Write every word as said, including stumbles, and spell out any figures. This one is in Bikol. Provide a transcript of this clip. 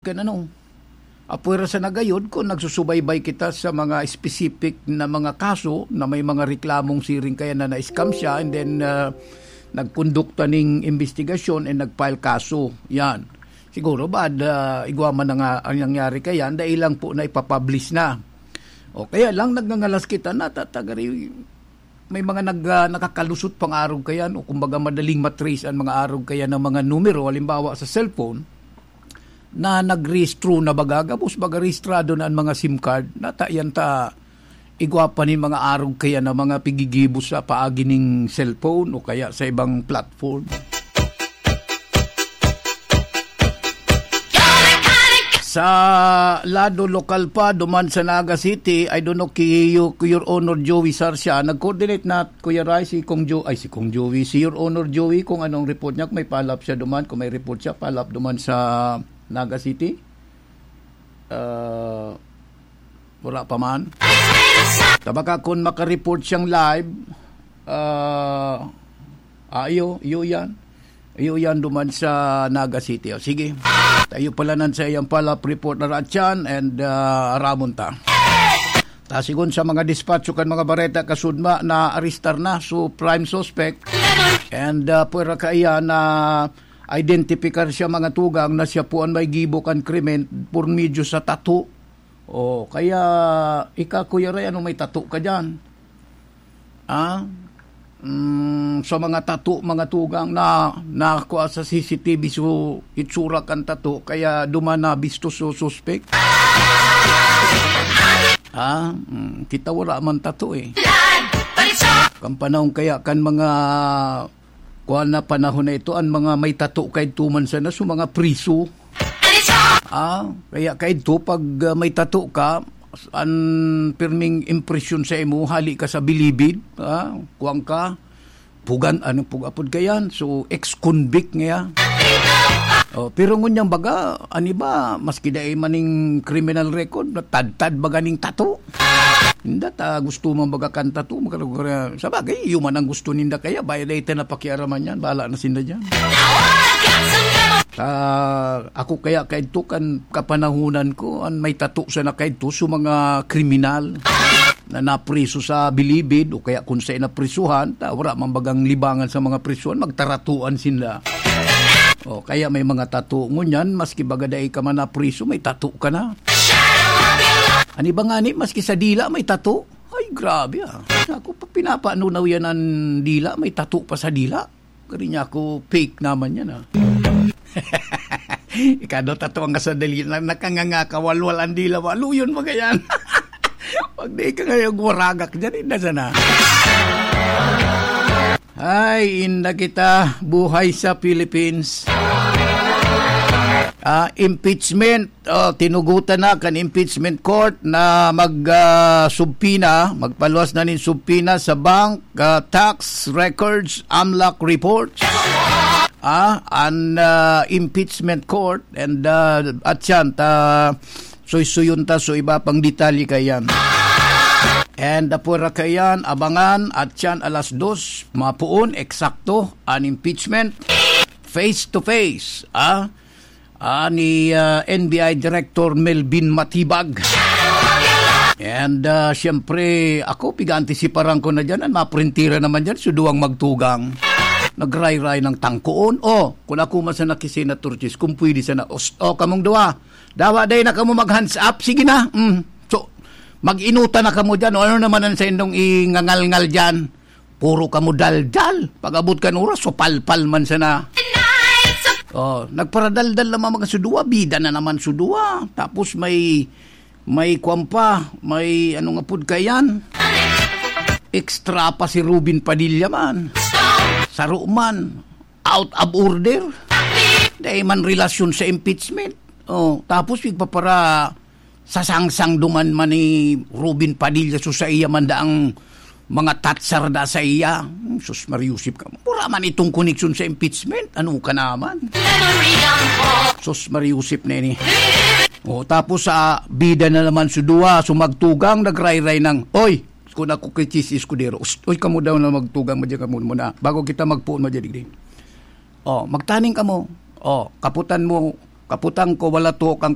Kan ano, apwera sa nagayod, kung nagsusubaybay kita sa mga specific na mga kaso na may mga reklamong siring kaya na na-scam siya, and then, ah, nagkondukta ning investigasyon and nag-file kaso. Yan. Siguro ba, ah, igwa man na nga ang nangyari kaya, dahil lang po na ipapublish na. O kaya lang nagngangalas kita na tatagari, may mga nag-, ah, nakakalusot pang arog kaya, o kumbaga madaling matrace ang mga arog kaya ng mga numero, halimbawa sa cellphone, na nagrehistro na baga, gabos baga rehistrado na ang mga SIM card, natayan ta igwa pa ni mga arog kaya na mga pigigibo sa paagi ning cellphone o kaya sa ibang platform. Sa lado lokal pa, duman sa Naga City, I don't know, ki-, Your Honor Joey Sarsia, nag-coordinate na, Kuya Rai, si Kong Jo-, ay, si Kong Joey, si Your Honor Joey, kung anong report niya, kung may follow-up siya duman, kung may report siya, follow-up duman sa Naga City. Ah, wala pa man. Tabaka kung makareport siyang live, ah, ah, iyo, iyo yan. Iyo yan duman sa Naga City. O, sige. Tayo pala nan sa iyang follow-up report na Ratchan and, ah, Ramon ta. Ta, sigon sa mga dispatcho kan mga bareta kasudma na arestar na. So, prime suspect. And, ah, pwera kaiya na identifikar siya mga tugang na siya po ang may gibo kan krimen por medyo sa tato. O, kaya ika, Kuya Ray, ano may tato ka dyan? Ah? Mm, sa mga tato, mga tugang na nakuha sa C C T V, so itsura kan tato, kaya duman na bisto so suspect. Ah, mm, kita wala man tato eh. Kan panahon kaya kan mga kuwan na panahon na ito, ang mga may tato kay tuman sana, so mga priso. Ah, kaya kaidto pag, ah, may tato ka, an pirming impresyon sa imo, hali ka sa bilibid, ah, kuwan ka, pugan, ano, pugapod ka yan, so ex-convict nga yan. Oh, pero ngunyan baga, ani ba, maski dai maning criminal record, natadtad baga ning tato. Ninda ta gusto man baga kan tato, magkaraguran. Sa bagay, iyo man ang gusto ninda kaya, bayo dai ta napakiaraman yan, bahala na sinda dyan. Ah, ako kaya kaidto kan kapanahunan ko, an may tato sana kaidto sa mga kriminal na napriso sa bilibid o kaya kung sa naprisuhan, ta, wala man bagang libangan sa mga prisuhan, magtaratuan sinda. O, kaya may mga tato. Ngunyan, maski baga dai ka man napriso, may tato ka na. Ani ba nga ni, maski sa dila may tato? Ay, grabe ah. Ako pa pinapanunaw yan ang dila, may tato pa sa dila. Kari niya ako, fake naman yan ah. Ikado tato ang kasadali na nakanganga ka, walwal ang dila, waluyon mo yan. Pag di ka ngayon waragak dyan, inda sana. Ay, inda kita, buhay sa Philippines. Ah, impeachment. Oh, tinugutan na kan impeachment court na mag, ah, subpoena, magpaluwas na nin subpoena sa bank, ah, tax records, amlak reports. Ah, an, ah, impeachment court and, ah, at yan, ta, suysuyon ta, so iba pang detalye kayan. And apura kayan, abangan, at yan, alas dos, mapuon, eksakto, an impeachment, face to face, ah, ah, ni, ah, N B I Director Melvin Matibag. And, ah, siyempre, ako, piga-antisiparan ko na dyan, ang maprintira naman dyan, so duwang magtugang. Nagrayray ng tangkoon. Oh, kung ako man sana ki Senator Chis, kung pwede sana, os-, oh, kamong duwa, dawa day na kamo mag-hands up, sige na. Mm. So, mag-inuta na kamo dyan, o ano naman ang sa indong ingangalngal dyan? Puro kamo daldal. Pag-abot kan oras, so palpal man sana. Oh, nagparadaldal naman mga suduwa, bida na naman suduwa. Tapos may, may kwan pa, may ano nga pud kayan. Extra pa si Robin Padilla man. Saro man, out of order. Dahil man relasyon sa impeachment. Oh, tapos igpapara sa sangsang duman man ni Robin Padilla, so sa iya man daang mga tatsar da sa iya. Hmm, sus, Mariusip ka. Mura man itong koneksyon sa impeachment. Ano ka naman? Sus, Mariusip na ini. Oh, tapos sa bida na naman sa duwa, so magtugang, nagrayray ng, "Oy, kung ako kay Chis Escudero, ust-, oy, kamo daw na magtugang, madyan kamo muna. Bago kita magpuon, madyan digdi." Oh, magtaning kamo. Oh, kaputan mo, Kaputang ko, wala tuhok ang